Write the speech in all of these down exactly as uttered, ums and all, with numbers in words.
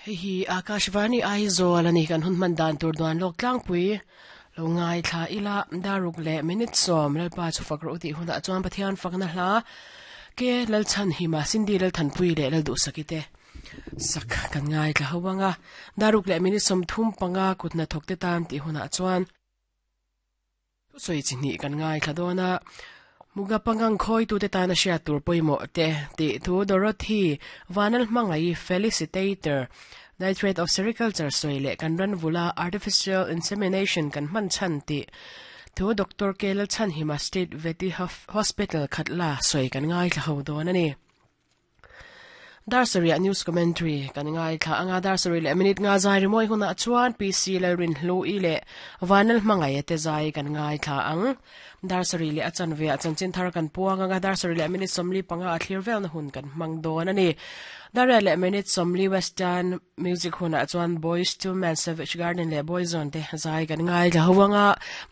Hei hi Akashvani Aizawl ani kan hun man dan tur duan lok tlangpui lo ngai thla ila daruk le minute som lalpa chu fakro ti huna chuan Pathian fakna hla ke lal chan hima Sindi lal thanpui le lal du sakite sak kan ngai thla hawanga daruk le minute som thum panga kutna thokte tan ti huna chuan soi chini kan ngai thla dona muga pangang khoi tu te tana sha tur poimo te ti thu Dorothy Vanal mangai felicitator nitrate of sericulture soile kan ran vula artificial insemination kan man chan ti thu Doctor Kelal Chan Hima State Veti Hospital Khatla soi kan ngai thla ho don ani Darsaria news commentary kan ngai thla anga darsari le minute nga zai ri moi huna chuan P C lalrin hlu i le Vanal mangai te zai kan ngai thla ang darsari le achan ve achan chin thar kan puang anga darsari le minute somli panga a thlir vel na hun kan mang don ani Daria le minute somli western music huna chuan Boys to Men Savage Garden le Boyzone te zai kan ngai thla huanga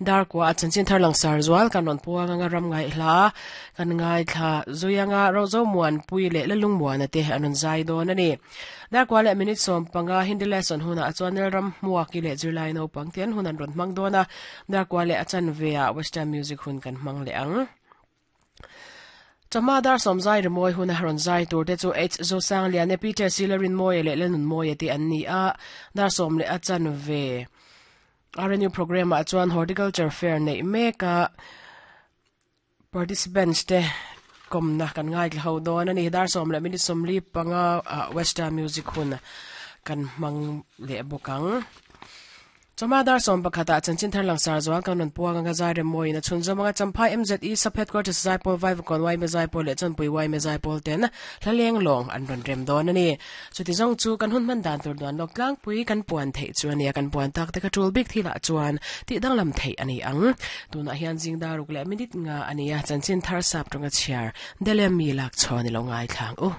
dar kwa achan chin thar lang sar zwal kan ron puang anga ram ngai hla kan ngai thla zuyanga rozo muan pui le lalung muan te anun zai don ani dar kwa le minute som panga Hindi lesson huna chuan ram muaki le July no pangtian hunan ron mang dona dar kwa le achan vea western music hun kan mang le ang Chama dar som zai re moi hun haron zai tur te chu H zo sang lian e Peter Silerin moi le lenun moi ti an ni a dar som le achan ve R N U program a chuan horticulture fair nei meka participants te kom na kan ngai ho don ani dar som le minute som li panga western music hun kan mang le bokang Chama dar som pakhata chanchin thar lang sar zwal kan non puang anga zai re moi na chunzo manga champhai M Z E sub headquarters zai pol vai kon wai me zai pol le chanpui wai me zai pol ten hlaleng long an ron rem don ani chuti zong chu kan hun man dan tur don lok tlang pui kan puan thei chu ani kan puan tak te ka tul bik thila chuan ti dang lam thei ani ang tuna hian jing daruk le minute nga ania chanchin thar sap tonga chiar dele mi lak choni lo ngai thlang u.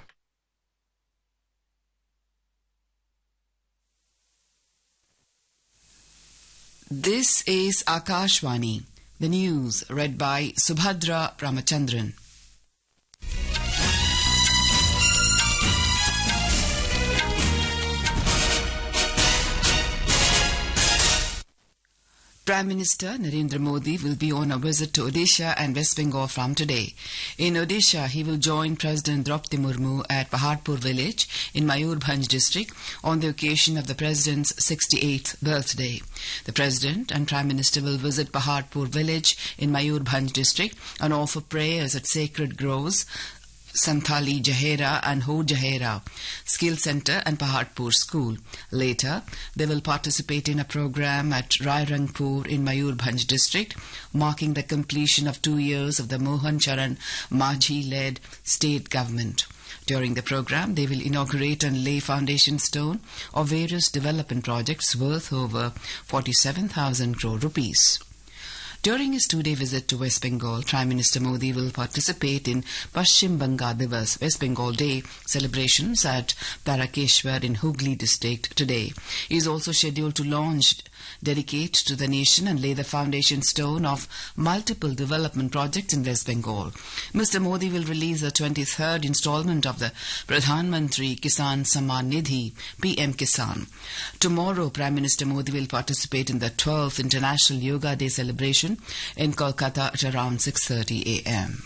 This is Akashvani, the news read by Subhadra Ramachandran. Prime Minister Narendra Modi will be on a visit to Odisha and West Bengal from today. In Odisha, he will join President Draupadi Murmu at Paharpur village in Mayurbhanj district on the occasion of the President's sixty-eighth birthday. The President and Prime Minister will visit Paharpur village in Mayurbhanj district and offer prayers at sacred groves, Santhali Jahera and Ho Jahera Skill Center and Paharpur School. Later, they will participate in a program at Rairangpur in Mayurbhanj district, marking the completion of two years of the Mohan Charan Majhi-led state government. During the program, they will inaugurate and lay foundation stone of various development projects worth over forty-seven thousand crore rupees. During his two-day visit to West Bengal, Prime Minister Modi will participate in Paschim Banga Divas, West Bengal Day celebrations at Tarakeshwar in Hooghly district today. He is also scheduled to launch, dedicate to the nation and lay the foundation stone of multiple development projects in West Bengal. Mister Modi will release the twenty-third installment of the Pradhan Mantri Kisan Samman Nidhi, P M Kisan. Tomorrow, Prime Minister Modi will participate in the twelfth International Yoga Day celebration in Kolkata at around six thirty a m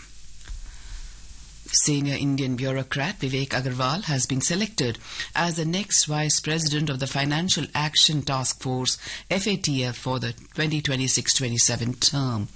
Senior Indian bureaucrat Vivek Agarwal has been selected as the next Vice President of the Financial Action Task Force, F A T F, for the twenty twenty-six twenty-seven term.